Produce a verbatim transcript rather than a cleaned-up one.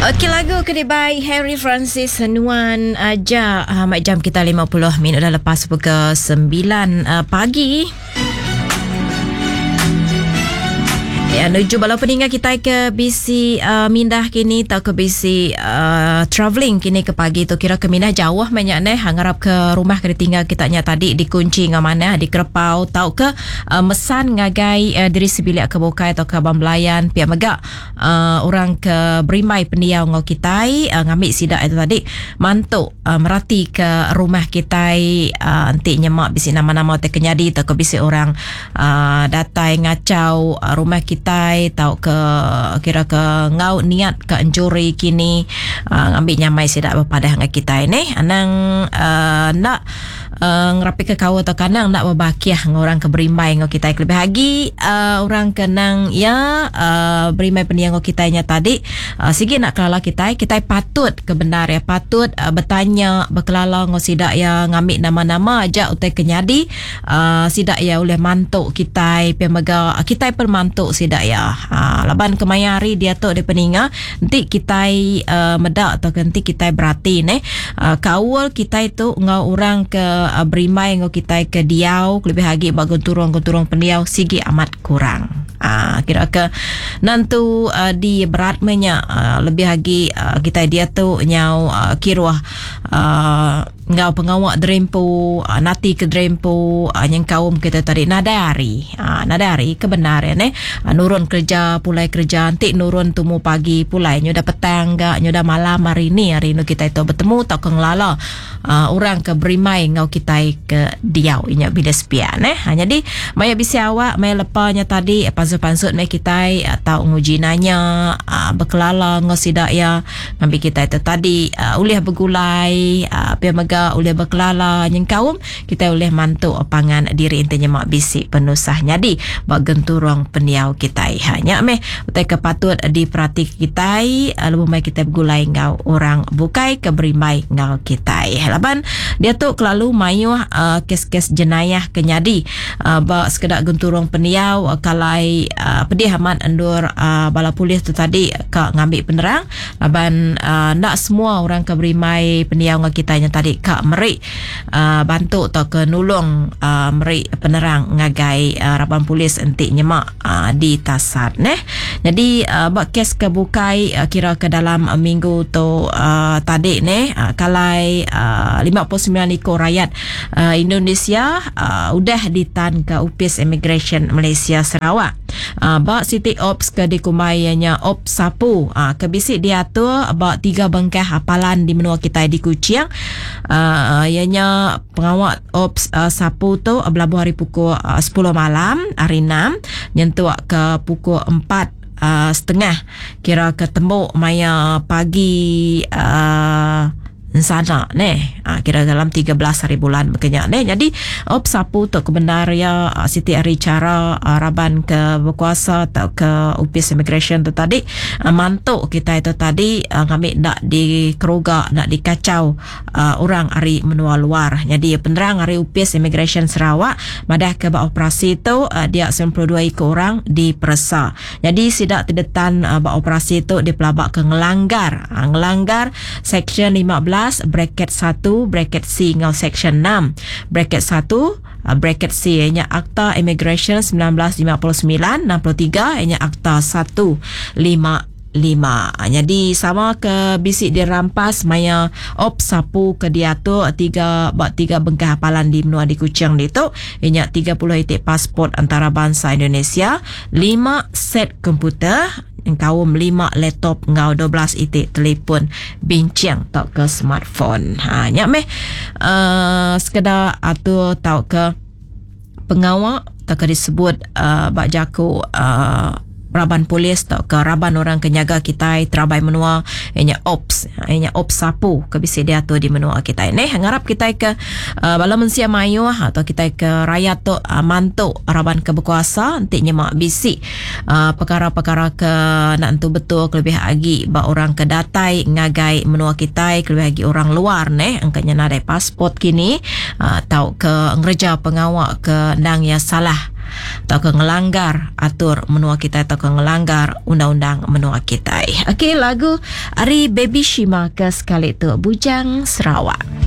Okey, lagu ke dibai Harry Francis Nuan Aja. Uh, mak jam kita lima puluh minit dah lepas pukul sembilan uh, pagi. Ya, nuju bala peninggal kita ke B C uh, mindah kini atau ke B C uh, travelling kini ke pagi tu kira ke mindah jauh banyak neh ngarap ke rumah ke ditinggal kita nya tadi dikunci ngau mana di kerepau tau ke uh, mesan ngagai uh, diri sebilik ke bukai atau ke abang belayan pia mega uh, orang ke berimbai pendiau ngau kita uh, ngambil sidak itu tadi mantuk uh, merati ke rumah kita uh, enti nyemak bisi nama-nama te kenyadi atau ke bisi orang uh, datai ngacau uh, rumah kita tai tau ke kira ke ngau niat ke enjuri kini uh, ngambil nyamai sidak berpadah dengan kita ni anang uh, nak uh, ngerapi ke kau atau kanang nak berbakiah dengan orang ke berimbai dengan kita lebih lagi uh, orang kenang ya uh, berimbai pendiang dengan kita nya tadi uh, sigi nak kelala kita kita patut ke benar ya patut uh, bertanya berkelala dengan sidak ya ngambil nama-nama aja utai kenyadi uh, sidak ya oleh mantuk kita pemega kita permantuk sidak ya. Ha, laban kemaya hari dia tu dia peninga nanti kita uh, medak atau nanti kita berarti ne uh, kaul kita itu ngau orang ke uh, berimai ngau kita ke diau lebih lagi bagun turung-turung pendiau sigi amat kurang. Ah, kira ke nantu uh, di berat menya uh, lebih lagi uh, kita dia tu nyau uh, kiruah uh, ngau pengawak derempu uh, nati ke derempu uh, yang kaum kita tadi nadari uh, nadari kebenaran eh uh, nurun kerja pulai kerja nanti nurun tumu pagi pulai nyu dah petang gak nyu dah malam hari ni hari ni kita itu bertemu tau ke ngelala uh, orang ke berimai ngau kita ke diau inya bila sepian eh ha, jadi maya bisi awak maya lepanya tadi pansut-pansut mai kita atau nguji nanya uh, berkelala ngau sidak ya ngambil kita itu tadi uh, ulih bergulai uh, pia mega ulih berkelala nyeng kaum kita ulih mantuk pangan diri intinya mak bisik penusah nyadi bak genturung pendiau kita ha nya meh utai ke patut diperhati kita uh, lebih mai kita bergulai ngau orang bukai ke berimbai ngau kita laban dia tu kelalu mayuh uh, kes-kes jenayah kenyadi uh, bak sekedak genturung pendiau uh, kalai Uh, pedih amat endur uh, bala polis tu tadi ka ngambil penerang laban uh, nak semua orang ke berimai pendiau dengan kita yang tadi ka merik uh, bantu atau ke nulung uh, merik penerang ngagai uh, raban polis entik nyemak uh, di tasat neh. Jadi uh, bak kes ke bukai uh, kira ke dalam uh, minggu tu uh, tadi neh uh, kalai uh, lima puluh sembilan ekor rakyat uh, Indonesia uh, udah ditan ke Upis Immigration Malaysia Sarawak. Uh, bak City Ops ke dikumbainya Ops Sapu uh, ke bisik diatur bak tiga bengkah hapalan di menua kita di Kuching. Uh, ianya pengawal Ops uh, Sapu tu uh, belabuh hari pukul uh, sepuluh malam hari enam nyentuk ke pukul empat uh, setengah kira ketemu maya pagi uh, sana neh ha, kira dalam tiga belas hari bulan berkenyak neh. Jadi op sapu tu kebenar ya siti hari cara raban ke berkuasa atau ke Upis Immigration tu tadi mantuk kita itu tadi ngambil nak dikeruga nak dikacau uh, orang hari menua luar. Jadi penerang hari Upis Immigration Sarawak madah ke bak operasi tu uh, dia sembilan puluh dua ekor orang diperesa. Jadi sidak terdetan uh, bak operasi tu dipelabak ke ngelanggar uh, ngelanggar section lima belas bracket satu bracket C ngau section enam bracket satu bracket C ianya Akta Immigration sembilan belas lima puluh sembilan enam puluh tiga ianya Akta satu lima lima. Jadi sama ke bisik dirampas maya op sapu ke diatur tiga bak tiga bengkah hapalan di menua di Kuching ni tu ianya tiga puluh itik pasport antarabangsa Indonesia, lima set komputer, kaum lima laptop ngau dua belas itik telefon bincang tau ke smartphone. Ha nya meh uh, sekedar atur tau ke pengawal tau ke disebut uh, bak jaku uh, raban polis tau ke raban orang ke nyaga kita terabai menua ianya ops ianya ops sapu ke bisi diatur di menua kita ni. Ngarap kita ke uh, bala mensia mayuh atau kita ke rakyat tu uh, mantuk raban ke berkuasa nanti nyemak bisi uh, perkara-perkara ke nak entu betul kelebih lagi ba orang ke datai ngagai menua kita kelebih lagi orang luar neh angkanya nadai pasport kini uh, tau ke ngereja pengawak ke ndang ya salah tauka ngelanggar atur menua kita tauka ngelanggar undang-undang menua kita. Okey, lagu ari Baby Shima ke sekali tu, Bujang Sarawak.